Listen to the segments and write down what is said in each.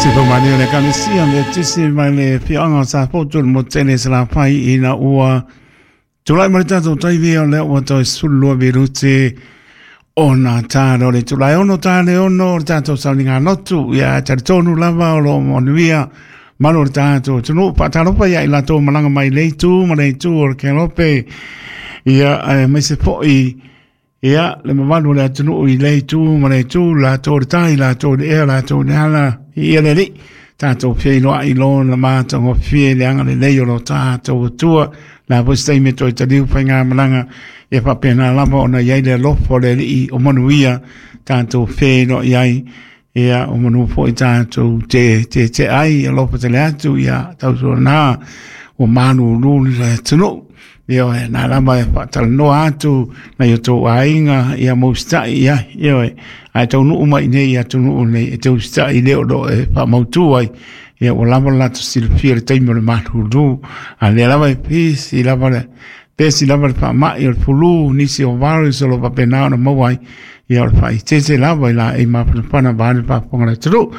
Se faamalia le Ekalesia Metotisi mai le afioaga o Safotu i le motu tele i Salafai ina ua tulai mai le tatou taimi o lea ua toe 12 minute ona talo le itula e 6 ta le 6 o le tatou sauniga lotu. Ia talitonu lava o lo o manuia malu o le tatou atunuu. Faatalofa ia i latou malaga mai le itu ma le itu o le Kelope. Ia aemaise foi ia le mamalu o le atunuu i le itu ma le itu, latou le tai, latou le ea, latou le ala, ia le alii. Tatou feiloai lona matagofie i le agalelei o lo tatou Atua. La foi se taimi e toe taliu faigamalaga, ia faapena lava ona i ai le alofa o le Alii o manuia tatou feiloai ai. Ia o manu foi tatou te te te ai alofa tele atu ia tautuana ua malulu le atunuu. Ioe, na lava e faatalanoa atu nai o tou aiga ia mo usitai i ai. Ioe, ae taunuu mai nei i atunuu nei e te usitai le o lo e faamautu ai. Ia ua lava le latou silafia i le taimi o le malulu. A lea lava e pisi lava le pesi lava le faamai o le fulu, nisi o virus o lo o faapena ona maua ai. Ia o le faaeteete lava i laei mafanafana vaeane le faafofoga a le atunuu.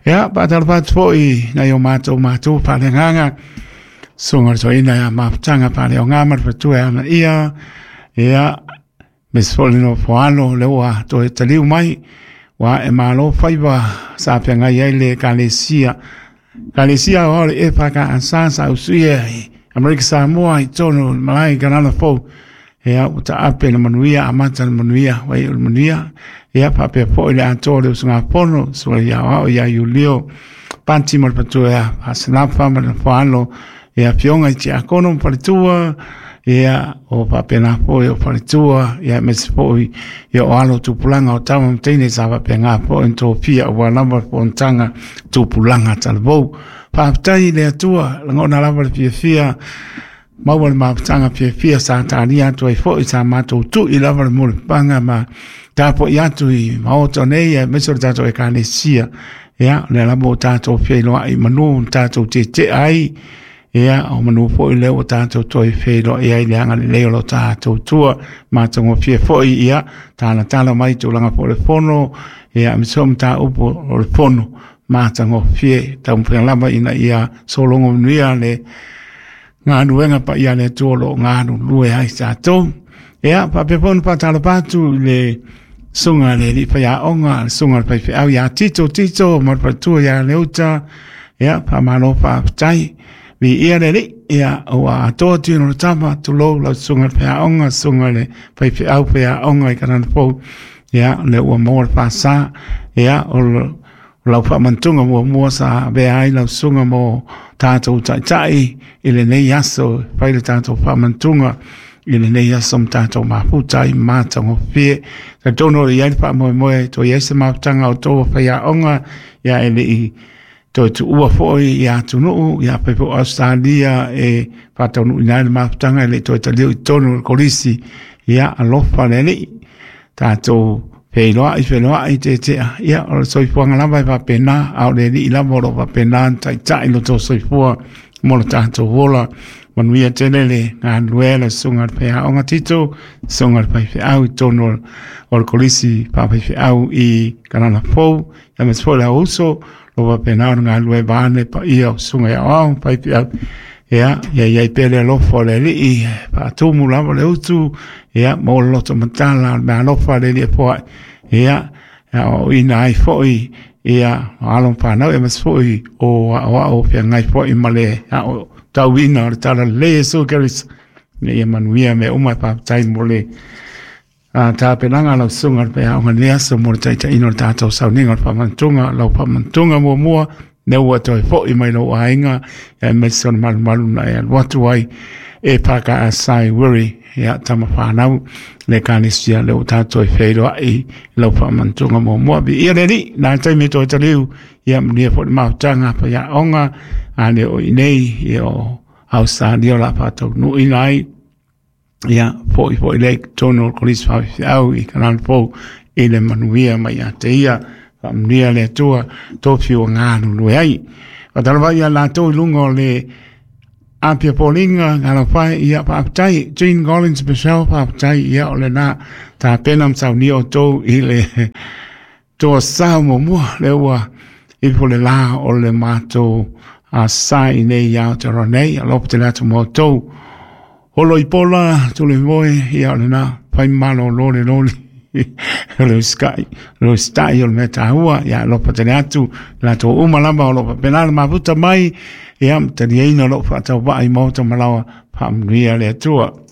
Ia, faatalofa atu foi nai o matou matua faaleagaga. Susuga le Toeaina ia Mafutaga Faaleoga ma le Faletua ia Anaia, ia, aemaise foi le nofo alo lea ua toe taliu mai, ua ae malo faiva sa feagai ai le Ekalesia. Ekalesia Aoao o le EFKS sa usuia i Amerika Samoa i totonu o le malae i Kanana Fou. Ia, ua taape le manuia, amata le manuia, ua iu le manuia. Ia, faapea foi le atoa o le usugafono, Susuga i Aoao ia Iulio, Pati ma le Faletua ia Faasalafa ma le Nofoalo, ia Afioga i Tiakono ma Faletua, ia, o faapena foi o Faletua, ia, aemaise foi ia o alo o tupulaga o tama ma teine sa faapena foi ona tofia aua lava le fonotaga tupulaga talavou. Faafetai i le Atua, lagona lava le fiafia maua le mafutaga fiafia sa talia atu ai foi sa matou tui lava le mulipapaga ma tapuai atu i maota nei aemaise o le tatou Ekalesia. Ia, o lea lava ua tatou feiloai i manu na tatou tietea ai, ia, o manu foi lea ua tatou toe feiloai ai i le agalelei o lo tatou Atua. Matagofie foi, ia, talatala mai tulaga foi o le fono, ia, aemaise foi mataupu o le fono matagofie, taumafai lava ina ia sologo manuia le galuega paia a le Atua o lo o galulue ai tatou. Ia, faapea foi ona faatalofa atu i le susuga i le alii faiaoga, le susuga i le faifeau ia Tito Tito ma le faletua ia Leuta. Ia, faamalo faafetai. Viia le Alii, ia, ua atoa tino o le tama, tulou lau susuga i le faiaoga, susuga i le faifeau faiaoga i Kanana Fou. Ia, o lea ua maua le faasa. Ia, o O lau faamantuga muamua sa avea ai lau susuga mo tatou taitai i lenei aso, fai le tatou faamantuga i lenei aso ma tatou mafuta ai matagofie. Talitonu o lo o i ai le faamoemoe toe i ai se mafutaga o outou o faiaoga, ia e le i toe tuua foi i atunuu, ia fai foi o Ausetalia e faataunuuina ai le mafutaga e le i toe taliu i totonu o le kolisi. Ia alofa le Alii, tatou feiloai feiloai tetea, ia o le soifuaga lava e faapena, a o le Alii lava o lo o faapena ona taitai lo outou soifua mo lo tatou ola. Manuia tele le galulue a le susuga i le faiaoga Tito, susuga i le faifeau i totonu o le kolisi faafaifeau i Kanana Fou, aemaise foi le auuso, o lo o faapena ona galulue vaeane le paia o susuga i aoao ma faifeau. Ia, ia i ai pea le alofa o le Alii, e faatumu lava le utu, ia, maua le loto matala o le meaalofa a le Alii e foai, ia, e aoaoina ai foi, ia, o alo ma fanau, aemaise foi o aoao feagai foi ma le aotauina o le Talalelei o Iesu Keriso, ina ia manuia mea uma. E faafetai mo le tapenaga a lau susuga i le faiaoga i lenei aso mo le taitaiina o le tatou sauniga o le faamanatuga, lau faamanatuga muamua, lea ua toe foi mai lou aiga, aemaise o le malumalu na e alu atu ai e FKS i Wiri, ia tama fanau, le Ekalesia lea ua tatou feiloai i lau faamanatuga muamua. Viia le Alii, na le taimi e toe taliu, ia manuia foi le mafutaga a faiaoga, a le o i inei, ia o Ausetalia o le a faataunuuina ai. Ia, foi foi lea i totonu o le Kolisi Faifeau i Kanana Fou i le manuia mai ia te ia, faamanuia le Atua, tofi ua galulue ai. Faatalofa ia latou i luga o le Apia Foliga, Galafae, ia faafetai, Jean Collins Michelle, faafetai, ia o lena tapena ma saunia outou i le toa sao muamua, lea ua Ifo le la o le matou sa i nei ia Aotearoa nei. Alofa tele atu ma outou. Holo i pola, tule moe, ia o lena, fai malo lole lole. O le sky, o le stai o le mea tāua, ia alofa tele atu, latou uma lava o lo o faapena le mafuta mai, ia taliaina o loo faatauvaa i maota malawa, faamanuia le Atua.